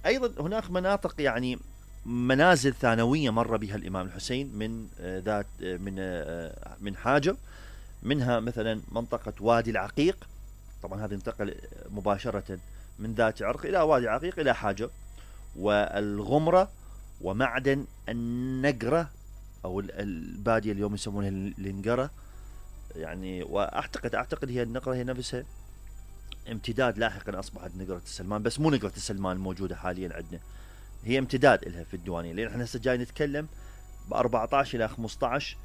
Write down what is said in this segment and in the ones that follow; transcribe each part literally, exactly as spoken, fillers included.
أيضا هناك مناطق يعني منازل ثانوية مر بها الإمام الحسين من ذات من من حاجة، منها مثلا منطقة وادي العقيق، طبعا هذا انتقل مباشرة من ذات عرق إلى وادي العقيق إلى حاجة، والغمرة، ومعدن النقرة أو البادية اليوم يسمونها النقرة يعني، وأعتقد أعتقد هي النقرة هي نفسها امتداد لاحقا أصبحت نقرة السلمان، بس مو نقرة السلمان الموجودة حاليا عندنا، هي امتداد لها في الديوانية، لأن احنا هسه جاي نتكلم ب أربعة عشر إلى خمسة عشر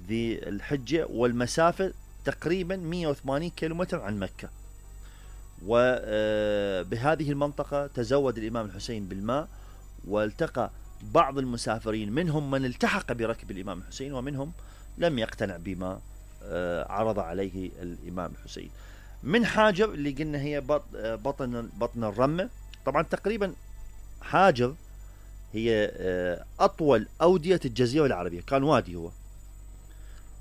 ذي الحجة، والمسافة تقريبا مئة وثمانين كيلومتر عن مكة. وبهذه المنطقة تزود الإمام الحسين بالماء، والتقى بعض المسافرين، منهم من التحق بركب الإمام الحسين، ومنهم لم يقتنع بما عرض عليه الإمام الحسين. من حاجر اللي قلنا هي بطن بطن الرمة، طبعا تقريبا حاجر هي أطول أودية الجزيرة العربية، كان وادي هو،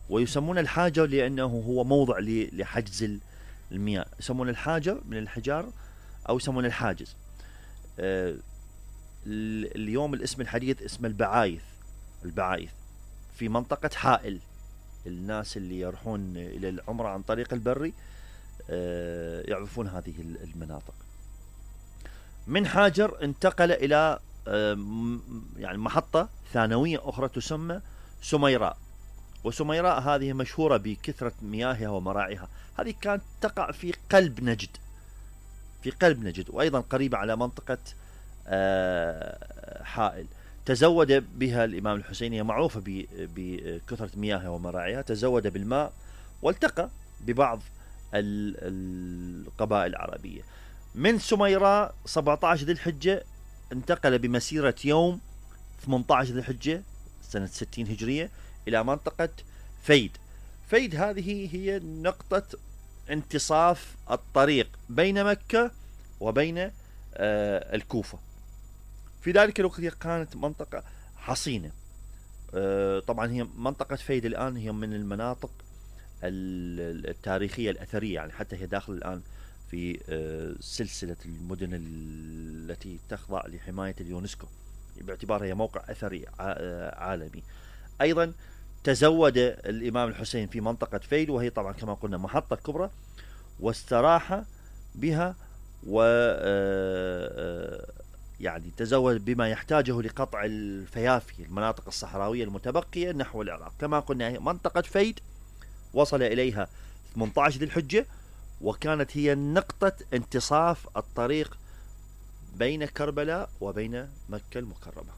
ويسمون الحاجر لأنه هو موضع لحجز المياه، يسمون الحاجر من الحجار أو يسمون الحاجز. اليوم الاسم الحديث اسم البعايث، البعايث في منطقة حائل، الناس اللي يروحون إلى العمرة عن طريق البري يعرفون هذه المناطق. من حاجر انتقل إلى يعني محطة ثانوية أخرى تسمى سميراء، وسميراء هذه مشهورة بكثرة مياهها ومراعيها، هذه كانت تقع في قلب نجد، في قلب نجد، وأيضا قريبة على منطقة حائل. تزود بها الإمام الحسين، هي معروفة بكثرة مياهها ومراعيها، تزود بالماء والتقى ببعض القبائل العربية. من سميراء سبعة عشر ذي الحجة انتقل بمسيرة يوم ثمانية عشر ذي الحجة سنة ستين هجرية إلى منطقة فيد. فيد هذه هي نقطة انتصاف الطريق بين مكة وبين آه الكوفة. في ذلك الوقت كانت منطقة حصينة. آه طبعا هي منطقة فيد الآن هي من المناطق التاريخية الأثرية، يعني حتى هي داخل الآن في آه سلسلة المدن التي تخضع لحماية اليونسكو باعتبارها هي موقع أثري عالمي. أيضا تزود الإمام الحسين في منطقة فيد، وهي طبعا كما قلنا محطة كبرى، واستراح بها، و يعني تزود بما يحتاجه لقطع الفيافي، المناطق الصحراوية المتبقية نحو العراق. كما قلنا منطقة فيد وصل إليها ثمانية عشر ذي الحجة، وكانت هي نقطة انتصاف الطريق بين كربلاء وبين مكة المكرمة.